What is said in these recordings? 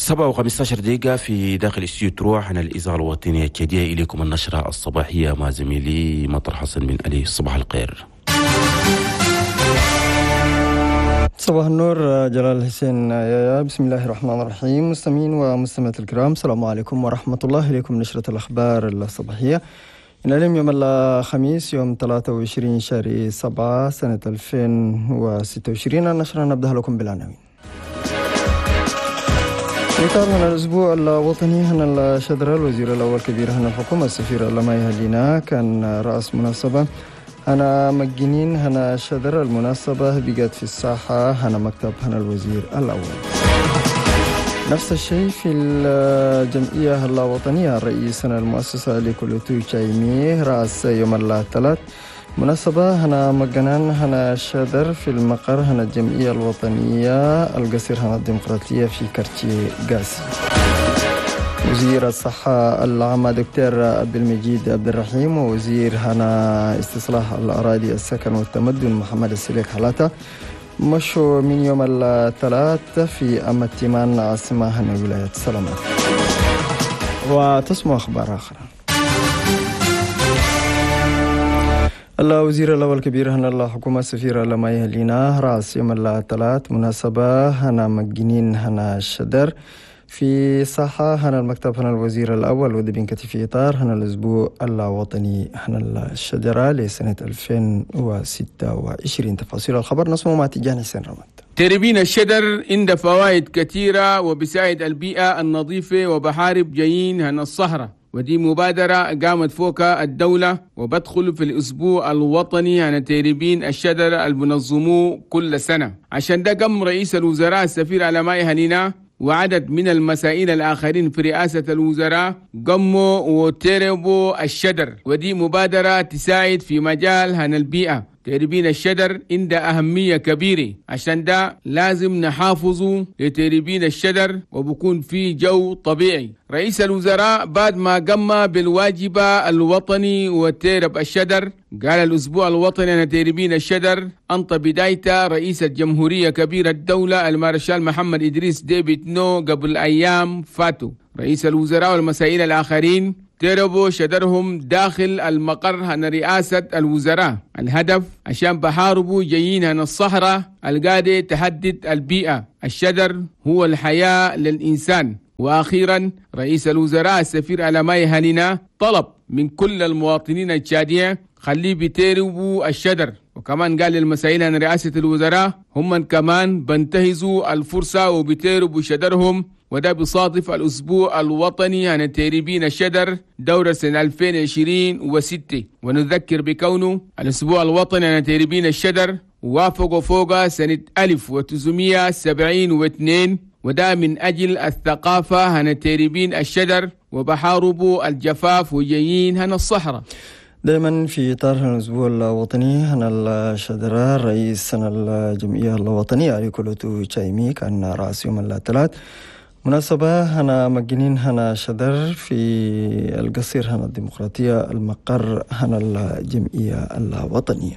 7:15 في داخل استوديو تروح عن الإذاعة الوطنية التشادية. إليكم النشرة الصباحية مع زميلي مطر حسن بن علي. صباح الخير. صباح النور جلال حسين. بسم الله الرحمن الرحيم. مستمعين ومستمعات الكرام، السلام عليكم ورحمة الله. إليكم نشرة الأخبار الصباحية. إن اليوم يوم الخميس يوم 23 شهر 7 سنة 2026. النشرة نبدأ لكم بالعناوين. إطار هنا الأسبوع الوطني هنا الشدرة، الوزير الأول كبير هنا الحكومة السفير لما يهلينا كان رأس مناسبة هنا مجنين هنا شدرة. المناسبة بقت في الساحة هنا مكتب هنا الوزير الأول. نفس الشيء في الجمعية الوطنية، الرئيس هنا المؤسسة لكولوتو تشايمي رأس يوم الثلاث مناسبة هنا مجنان هنا شدر في المقر هنا الجمعية الوطنية القصير هنا الديمقراطية في كارتيه غازي. وزير الصحة العامة دكتور عبد المجيد عبد الرحيم ووزير هنا استصلاح الأراضي السكن والتمدن محمد السليك حلاته مشوا من يوم الثلاث في أمتمان عاصمة هنا ولاية سلامات. وتسمع أخبار أخرى. الوزير الأول كبير هنا الحكومة السفيرة لما يهلينا رأس يوم الثلاث مناسبة هنا مجنين هنا الشدر في ساحة هنا المكتب هنا الوزير الأول ودبين في إطار هنا الأسبوع الوطني هنا الشجرة لسنة 2026. تفاصيل الخبر نسمع مع تيجان حسين رمضان. تربين الشجر عند فوائد كثيرة وبساعد البيئة النظيفة وبحارب جايين هنا الصحراء، ودي مبادرة قامت فوق الدولة وبدخل في الأسبوع الوطني عن تربين الشجر المنظموه كل سنة. عشان ده قام رئيس الوزراء السفير على ما يهنينا وعدد من المسائل الآخرين في رئاسة الوزراء قموا وتربوا الشجر، ودي مبادرة تساعد في مجال هن البيئة. تربين الشجر عند أهمية كبيرة، عشان ده لازم نحافظه لتربين الشجر وبكون في جو طبيعي. رئيس الوزراء بعد ما قام بالواجب الوطني وترب الشجر قال الأسبوع الوطني أن تربين الشجر أنت بدايته رئيس الجمهورية كبير الدولة المارشال محمد إدريس ديبي إتنو قبل أيام فاتوا. رئيس الوزراء والمسائل الآخرين تربوا شجرهم داخل المقر هن رئاسة الوزراء. الهدف عشان بحاربوا جايين هن الصحراء القادة تهدد البيئة. الشجر هو الحياة للإنسان. وأخيرا رئيس الوزراء السفير على ما يهنينا طلب من كل المواطنين التشادية خليه بيتربوا الشجر، وكمان قال للمسائل عن رئاسة الوزراء هم كمان بنتهزوا الفرصة وبيتربوا شجرهم، وده بيصادف الأسبوع الوطني عن تربين الشجر دورة سنة 2026. ونذكر بكونه الأسبوع الوطني عن تربين الشجر وافقوا فوق سنة 1972، وده من أجل الثقافة عن تربين الشجر وبحاربوا الجفاف وجايين هنا الصحراء. دائما في إطار الأسبوع الوطني هنا الشجرة، رئيس الجمعية الوطنية علي كولوتو تشايمي كان رأس يوم الثلاث مناسبة هنا مجنين هنا شدر في القصير هنا الديمقراطية المقر هنا الجمعية الوطنية.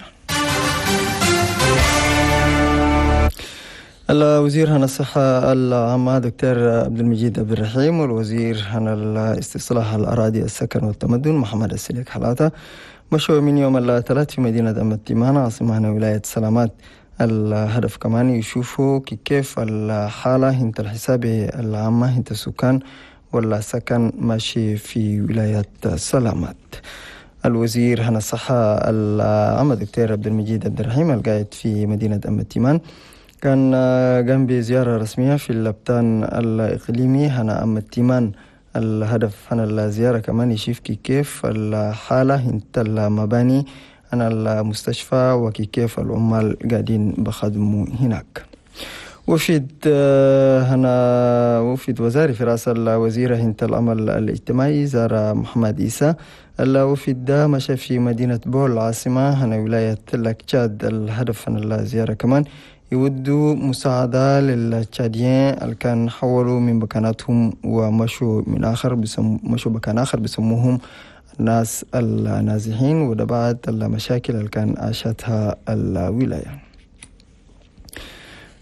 الوزير هنا الصحة العامة دكتور عبد المجيد عبد الرحيم والوزير هنا الاستصلاح الأراضي السكن والتمدن محمد السليك حلاته مشوا من يوم الثلاث في مدينة أمتمان عاصمة هنا ولاية سلامات. الهدف كمان يشوفوا كيف الحالة هنت الحساب العامة هنت السكان ولا سكن ماشي في ولاية سلامات. الوزير هنا الصحة العامة دكتور عبد المجيد عبد الرحيم القائد في مدينة أمتمان كان قام بزيارة رسمية في اللبتان الإقليمي هنا أمتمان. الهدف هنا الزيارة كمان يشوف كيف الحالة هنت المباني أنا المستشفى وكيف العمال قاعدين بخدموا هناك. وفد هنا وفد وزاري في رأس الوزيرة هنت العمل الاجتماعي زار محمد إيسا. الوفد ده مشى في مدينة بول العاصمة هنا ولاية تشاد. الهدف هنا الزيارة كمان يودوا مساعدة للتشاديين اللي كان حولوا من مكاناتهم ومشوا من آخر مشوا مكان آخر بسموهم الناس النازحين، وده بعد المشاكل اللي كان عاشتها الولاية.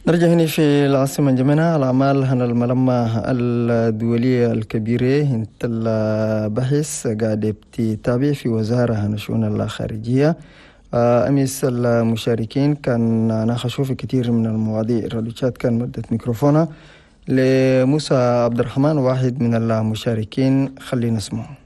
نرجع هنا في العاصمة جمينة الأعمال هنا الملمة الدولية الكبيرة انت البحث قاعد بتتابع في وزارة هنا شؤون الخارجية. أمس المشاركين كان ناقشوا في كثير من المواضيع. راديو كان مدة ميكروفونها لموسى عبد الرحمن واحد من المشاركين، خلينا نسمعه.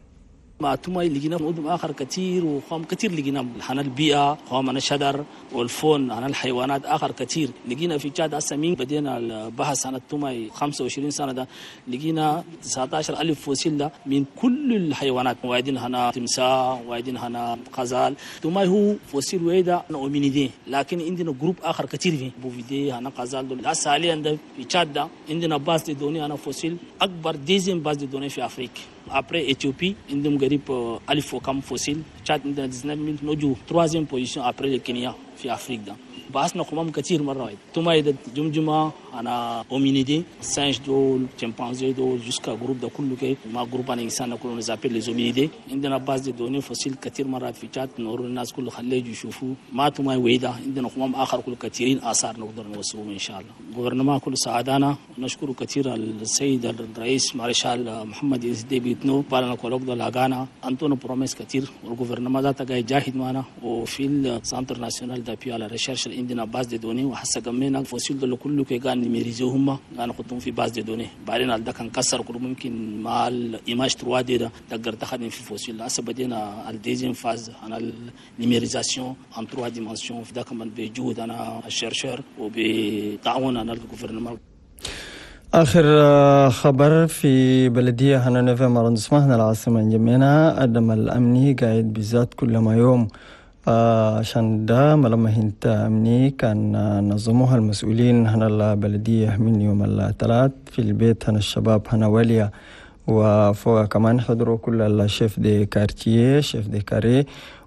مع توماي لقينا مدن آخر كثير وخام كثير لقينا عن البيئة، خام عن الشجر وال faune، عن الحيوانات آخر كثير لقينا في تشاد. هسه من بدينا البحث عن التوماي 25 سنة ده لقينا 19,000 fossile ده من كل الحيوانات، وايدين هنا تمساح، وايدين هنا غزال. توماي هو fossile ويدا hominidé، لكن عندنا groupe آخر كثير فيه bovidé هنا غزال دول. هسه حاليا ده في تشاد ده عندنا base de données هنا fossiles أكبر deuxième base de données في أفريقيا après Éthiopie عندهم قريب 1000 وكم fossiles. تشاد عندنا 19,000 نجو troisième position après الكينيا في أفريقيا ده. بحثنا خمام كثير مرة واحد توماي ده جمجمة أنا hominidé singe دول chimpanzé دول jusqu'à groupe ده كله كي ما groupe أنا إنسان كله on appelle les hominidés. عندنا base de données fossiles كثير مرات في تشاد نور الناس كله خليه يجوا يشوفوا ما توماي ويدا. عندنا خمام آخر كله كثيرين آثار نقدر نوصلهم إن شاء الله. gouvernement كل سعادانا نشكر كثير السيد الرئيس مارشال محمد إدريس ديبي إتنو بالنا colloque ده لاغانا أنتونا promesses كثير وال gouvernement ذاته قاعد يجاهد معنا. وفي ال centre national d'appui à la recherche عندنا base de données وحسا قمينا fossiles دول كله كي قاعد numériser هم قاعد نحطهم في base de données. بعدين ده كان كسر كله ممكن مع ال image 3D ده تقدر تخدم في fossile. هسه بدينا ال deuxième phase انا ال numérisation en 3 dimensions في ده كمان بجهود انا ال chercheurs وبتعاون انا ال gouvernement. آخر خبر في بلدية هنا neuvième arrondissement هنا العاصمة جمينة عدم الأمني قاعد بالذات كل ما يوم، عشان ده ملما هنت أمني كان نظموها المسؤولين هنا البلدية من يوم الثلاث في البيت هنا الشباب هنا وليا، وفوق كمان حضروا كل ال chefs de quartier chefs de carré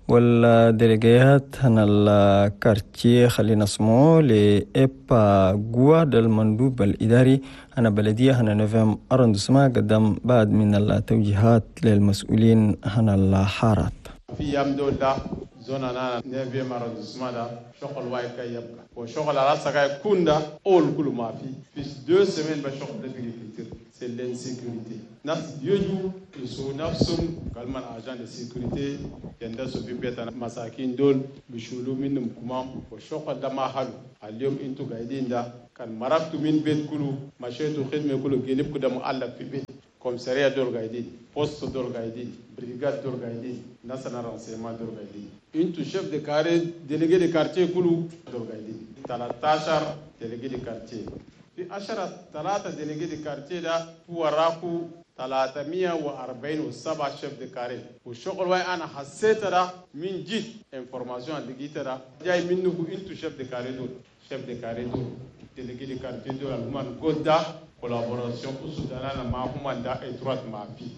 وال délégués هنا ال quartier. خلينا اسمه لإبا جوا المندوب الإداري هنا بلدية هنا neuvième arrondissement قدم بعد من التوجيهات للمسؤولين هنا الحارات. في يوم دول ده zone أنا neuvième arrondissement ده شغل واي كي يبقى وشغل على سكاي كون ده أول كل ما في 2 semaines بشغل ده بيجي كتير c'est l'insécurité. ناس يجوا يسوا نفسهم كلمة agent de sécurité يندسوا في بيت مساكين دول بيشولوا منهم كمام والشغل ده ما حلو. اليوم انتوا قاعدين ده كان مرقتوا من بيت كله مشيتوا خدمة كله جلبكم ده معلق في بيت commissariat دول قاعدين، poste دول قاعدين، brigade دول قاعدين، ناس renseignement دول قاعدين، انتو chef de carré délégué de quartier كله دول قاعدين 13 délégué de quartier في 10 3 délégué de quartier ده وراكو 347 chefs de carré. والشغل واي انا حسيت ده من جيت information اللي لقيت ده جاي منه انتو chefs de carré دول chefs de carré دول délégué de quartier دول الهمان قد ده collaboration usudana ma huma da étroite ma fi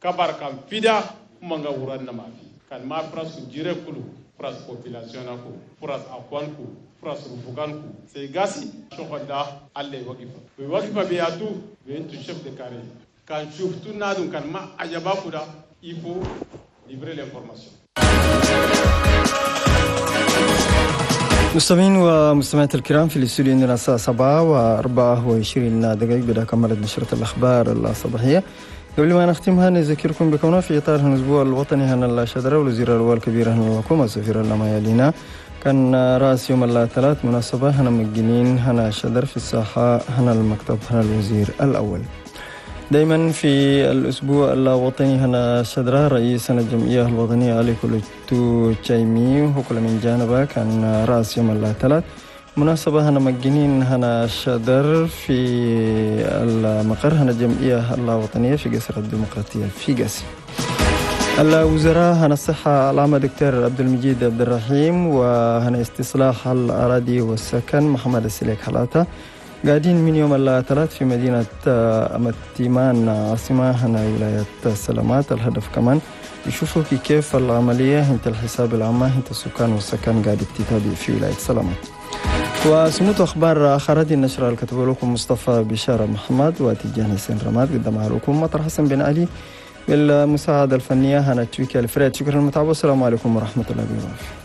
kabar kan fida huma nga wuran na ma fi kan ma pras jire kulu pras population na ku pras akwan ku pras rufukan ku sai gasi shokon da alle wagifa we wagifa be atu be intu chef de carré kan shuftu nadun kan ma ajaba ku da il faut livrer l'information. مستمعين ومستمعات الكرام في الاستوديو عندنا الساعة 7:24 بدأ كملت نشرة الأخبار الصباحية. قبل ما نختمها نذكركم بكونها في إطار الأسبوع الوطني هنا الشجرة والوزير الأول الكبير هنا الحكومة السفير لما يلينا كان رأس يوم الثلاث مناسبة هنا مجنين هنا شجر في الساحة هنا المكتب هنا الوزير الأول. دايما في الأسبوع الوطني هنا شدرة رئيس الجمعية الوطنية علي كولوتو تشايمي وكل من جانبه كان رأس يوم الثلاث مناسبة هنا مجنين هنا شدر في المقر هنا الجمعية الوطنية في قصر الديمقراطية في قاسي. الوزراء هنا الصحة العامة دكتور عبد المجيد عبد الرحيم وهنا استصلاح الأراضي والسكن محمد السليك حلاته قاعدين من يوم الثلاث في مدينة أمتيمان عاصمة هنا ولاية سلامات. الهدف كمان يشوفوا كيف العملية انت الحساب العامة انت السكان والسكن قاعد تتابع في ولاية سلامات. وسموت أخبار آخر هذه النشرة اللي كتبوا لكم مصطفى بشارة محمد وتجاني حسين رماد، قدمها لكم مطر حسن بن علي بالمساعدة الفنية هنا تويكي الفريد. شكرا للمتابعة والسلام عليكم ورحمة الله وبركاته.